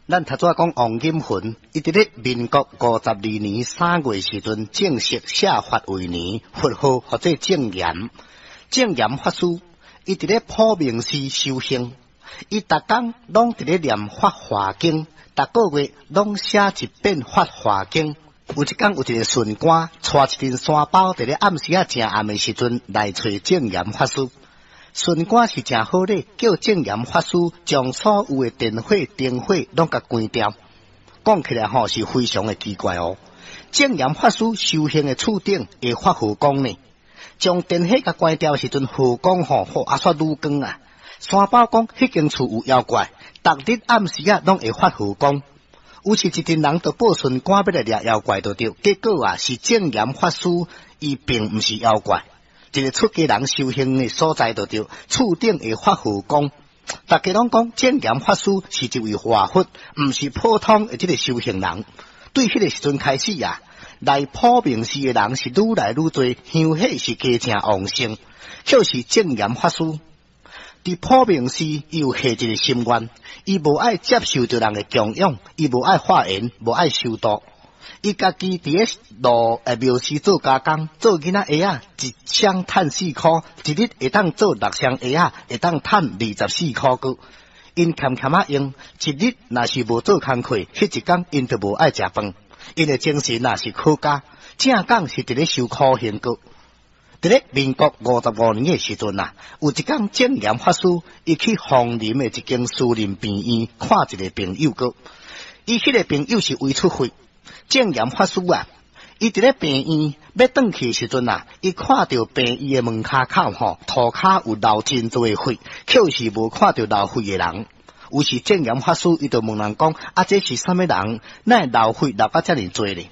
咱頭拄仔講王錦雲，伊佇咧民國52年3月時陣正式寫法為年，佛號號做證嚴。證嚴法師，伊佇咧普明寺修行，伊逐工攏佇咧念法華經，逐個月攏寫一遍法華經。有一工有一個巡官，帶一陣山包，佇咧暗時仔誠暗的時陣來揣證嚴法師。巡官是誠好禮，叫證嚴法師將所有的電火、燈火攏共關掉。講起來吼是非常的奇怪哦。證嚴法師修行的厝頂會發火光呢？將電火共關掉時陣，火光吼，吼啊煞愈光啊！山包講，彼間厝有妖怪，逐日暗時仔攏會發火光。於是，一陣人就報巡官欲來掠妖怪，就對。結果啊，是證嚴法師，伊並毋是妖怪。一個出家人修行的所在，就對，厝頂會發火光。大家攏講證嚴法師是一位活佛，毋是普通的這個修行人。對彼個時陣開始啊，來普明寺的人是愈來愈濟，香火是加誠旺盛。就是證嚴法師佇普明寺，伊有下一個心願，伊無愛接受著人的供養，伊無愛化緣，無愛修道。伊家己佇咧路廟寺做加工，做囡仔鞋仔，一雙趁4箍，一日會當做六雙鞋仔，會當趁24箍閣。𪜶儉儉仔用，一日若是無做工課，彼一工𪜶就無愛食飯。𪜶的精神若是可嘉，正講是佇咧修苦行閣。佇咧民國55年的時陣啊，有一工證嚴法師，伊去楓林的一間私人病院看一個朋友閣。伊彼個朋友是胃出血。證嚴法師啊，伊佇咧病院欲轉去的時陣啊，伊看著病院的門跤口吼，塗跤有流真濟血，卻是無看著流血的人。於是證嚴法師伊就問人講：啊，這是啥物人？哪會流血流甲遮爾濟咧？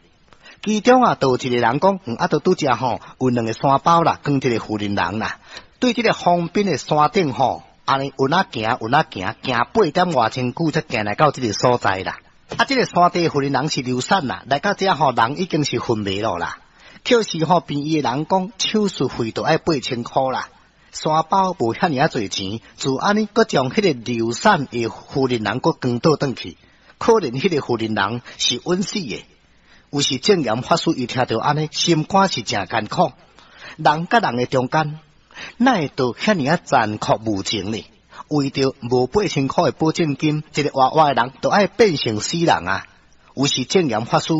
其中啊，就有一個人講，啊，就拄才吼有兩個山包啦，跟一個婦人人啦，對這個方邊的山頂吼，按呢運仔行，運仔行，行八點外鐘久才行來到這個所在啦。啊，這個山頂婦人人是流產啦，來到遮吼人已經是昏迷了啦。卻是吼病院的人講，手術費都愛8000箍啦。山包無遐爾仔濟錢，就按呢，閣將彼個流產的婦人人閣扛倒轉去。可能彼個婦人人是穩死的。有時證嚴法師伊聽著按呢，心肝是誠艱苦。人佮人的中間，哪會著遐爾仔殘酷無情呢？為著無八千箍的保證金，一個活活的人都愛變成死人啊！有時證嚴法師。